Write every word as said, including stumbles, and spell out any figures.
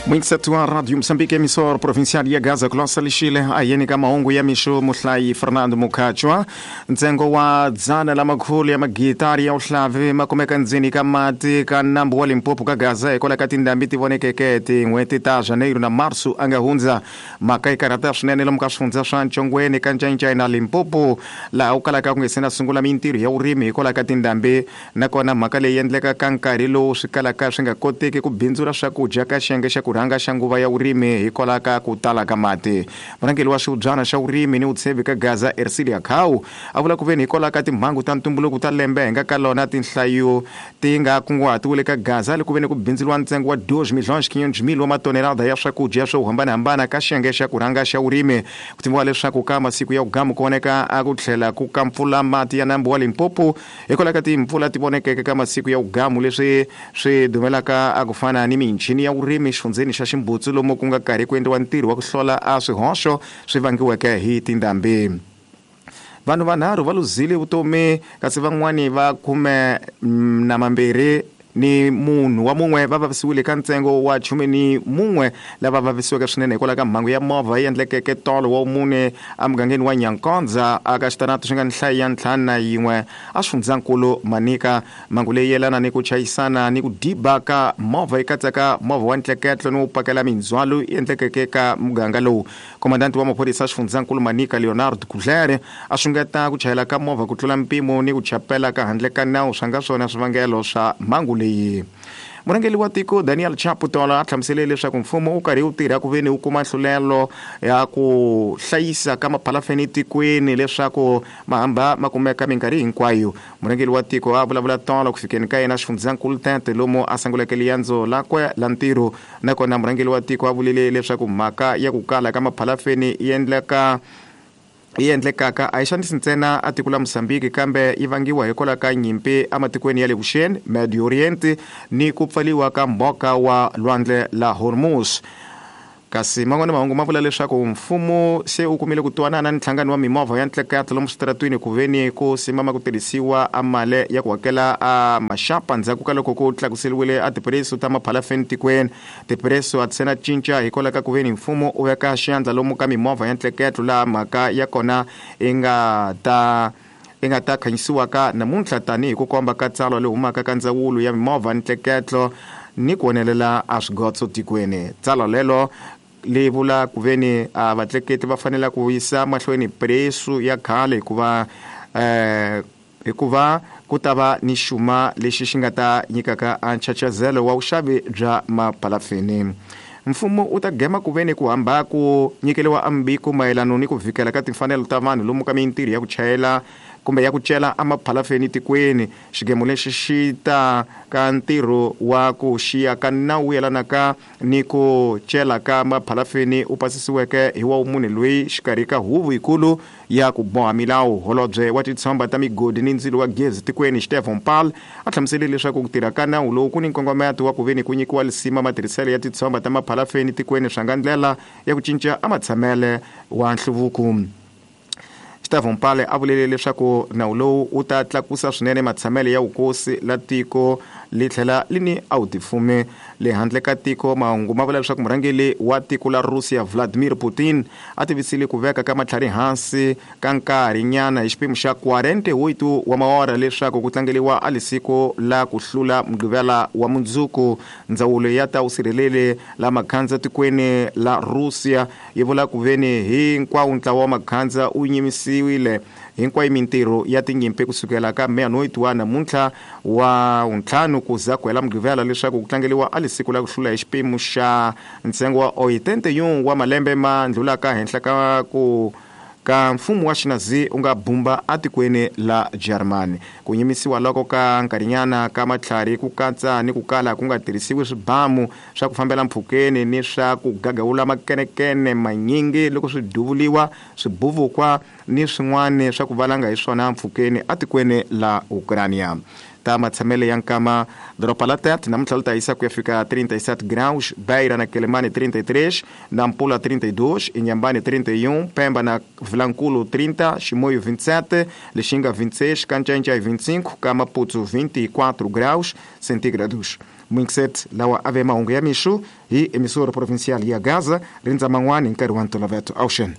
Mwingisati wa Radio Mozambique, emissora provincial ya Gaza kulosa lixile ayeni ka mahungu ya mixo muhlayi Fernando Mukhachwa. Ntsengo wa dzana la makhulu ya magitari ya uhlavi ma kumeka ndzeni ka mati ka nambu wa Limpopo ka Gaza hikwalaho ka tindhambi ti vonekeke tin'hweti ta Janeiro na Marso a nga hundza. Mhaka yi karhata swinene lomu ka swifundza swa Ntshongweni ka Ncayincaya na Limpopo, laha ku kalaka ku nga se na sungula mintirho ya vurimi hikwalaho ka tindhambi. Nakona mhaka leyi endleka ka nkarhi lowu swi kalaka swi nga koteki ku bindzula swakudya ka xiyenge xa ku rhanga xa nguva ya vurimi hikwalaho ka ku tala ka mati. Murhangeri wa xihubyana xa vurimi ni vutshembi ka Gaza, Ercilia Khau, a vula ku veni hikwalaho ka timhangu ta ntumbuluko ta lembe hi nga ka lona tinhlayo ti nga kunguhatiwile ka Gaza le ku veni ku bindzuriwa ntsengo wa dois milhões quinhentos mil wa matonelada ya swakudya swo hambanahambana ka xiyenge xa ku rhanga xa vurimi. Ku tiviwa leswaku ka masiku ya vugamu ku voneka a ku tlhela ku ka mpfula mati ya nambu wa Limpopo hikwalaho ka timpfula ti vonekeke ka masiku ya vugamu, leswi swi dumelaka a ku fana ni michini ya vurimi xifundzeni xa Ximbutsu lomu ku nga karhi ku endliwa ntirho wa ku hlola a swihoxo swi vangiweke hi tindhambi. Vanhu vanharhu va luzile vutomi kasi van'wani va khume na mambirhi ni munhu wa mun'we va vavisiwile ka ntsengo wa khume ni mun'we lava vavisiweke swinene hikwalaho ka mhangu ya movha yi endlekeke tolo wa mune emugangeni wa Nyankondza aka xitarato xi nga ni nhlayo ya ntlhanu na yin'we a xifundzankulu Manika. Mhangu leyi yelana ni ku chayisana ni ku diba ka movha yi katsaka movha wa ntleketlo ni wo pakela mindzhwalo yi endlekeke ka muganga lowu. Komandanti wa maphorisa xifundzankulu Manika, Leonardo Kudlere, a xungeta ku chayela ka movha ku tlula mpimo ni ku chapela ka handle ka nawu swa nga swona swivangelo swa mhangu leyi. Murhangeri wa tiko Daniel Chapo tolo a hlamusele leswaku mfumo wu karhi wu tirha ku veni wu kuma nhlulelo ya ku hlayisa ka maphalafeni tikweni leswaku mahamba ma kumeka minkarhi hinkwayo. Murhangeri wa tiko a vulavula tolo ku fikeni ka yena xifundzankulu Tete lomu a sunguleke riendzo lakwe la ntirho. Nakona murhangeri wa tiko a vulile leswaku mhaka ya ku kala ka maphalafeni yi endleka yi endlekaka a yi xanisi ntsena a tiko la Mozambique kambe yi vangiwa hikwalaho ka nyimpi ematikweni ya le Vuxeni, Medio Oriente ni ku pfaliwa ka mboka wa lwandle la Hormuz. Kasi man'wana mahungu ma vula leswaku mfumo se wu kumile ku twanana ni nhlangano wa mimovha ya ntleketlo lomu switaratwini ku veni ku simama ku tirhisiwa a mali ya ku hakela a maxapa ndzhaku ka loko ku tlakuseriwile a tipreso ta maphalafeni tikweni. Tipreso a ti se na cinca hikwalaho ka ku veni mfumo u veka xandla lomu ka mimovha ya ntleketlo laha mhaka ya kona yi nga ta yi nga ta khanyisiwaka namuntlha tanihi ku komba ka tsalwa leyi humaka ka ndzawulo ya mimovha ntleketlo ni ku onelela a swigotso tikweni. Tsalwa lelo leyi vula ku veni a vatleketi va fanele ku yisa mahlweni preso ya khale hikuva eh hikuva ku ta va ni xuma lexi xi nga ta nyikaka a nchachazelo wa vuxavi bya maphalafeni. Mfumo wu ta gema ku veni ku hamba ku nyikeliwa ambiko mayelana ni ku vikela ka timfanelo ta vanhu lomu ka mintirho ya ku chayela kumbe ya ku cela emaphalafeni tikweni. Xigemo lexi xi ta ka ntirho wa ku xiya ka nawu yelanaka ni ku cela ka maphalafeni u pasisiweke hi wa munhu loyi xikarhi ka huvo yikulu ya ku boha milawu. Holobye wa titshomba ta migodi ni ndzilo wa gezi tikweni Stefan Paul a hlamusele leswaku ku tirha ka nawu lowu ku ni nkongometo wa ku veni ku nyikiwa lisima matirhiselo ya titshomba ta maphalafeni tikweni swa nga ndlela ya ku cinca amatshamele wa nhluvuko. Stefan Paul a vulele leswaku nawu lowu wu ta tlakusa swinene matshamelo ya vukosi la tiko li tlhela li ni a wu tifumi le handle ka tiko. Mahungu ma vula leswaku murhangeri wa tiko la Russia Vladimir Putin a tivisile ku veka ka matlhari hansi ka nkarhinyana hi xiphemu xa quarenta e oito wa maora leswaku ku tlangeriwa a lisiko la ku hlula Mugqivela wa mundzuku. Ndzawulo ya ta vusirheleli la makhandza tikweni la Russia yi vula ku veni hinkwawo ntlawa wa makhandza wu nyimisiwile hinkwayo mintirho ya tinyimpi kusukela ka meia-noite wa namuntlha wa ntlhanu ku za ku hela Mugqivela leswaku ku tlangeriwa a lisiku la ku hlula hi xiphemu xa ntsengo wa oitenta e um wa malembe ma ndlulaka henhla ka ku ka mfumo wa Xinazi u nga bumba atikweni la Germany. Ku nyimisiwa loko ka nkarhinyana ka matlhari ku katsa ni ku kala ku nga tirhisiwi swibamu swa ku fambela mpfhukeni ni swa ku gagawula makenekene manyingi loko swi duvuliwa swibuvukwa ni swin'wana swa ku valanga hi swona mpfhukeni atikweni la Ukraine. Ta matshamele ya nkama doroba la Tete namuntlha li ta yisa ku ya fika trinta e sete graus, Beira na Quelimane trinta e três, Nampula trinta e dois, Inhambane trinta e um, Pemba na Vilankulo trinta, Chimoio vinte e sete, Lixinga vinte e seis, Canchanchay vinte e cinco, Maputo vinte e quatro graus centígrados. Mwinxet lawa ave mahungu ya mixo hi emisoro provincial ya Gaza rindza man'wani hi nkarhi wa ntoloveto. Auxen.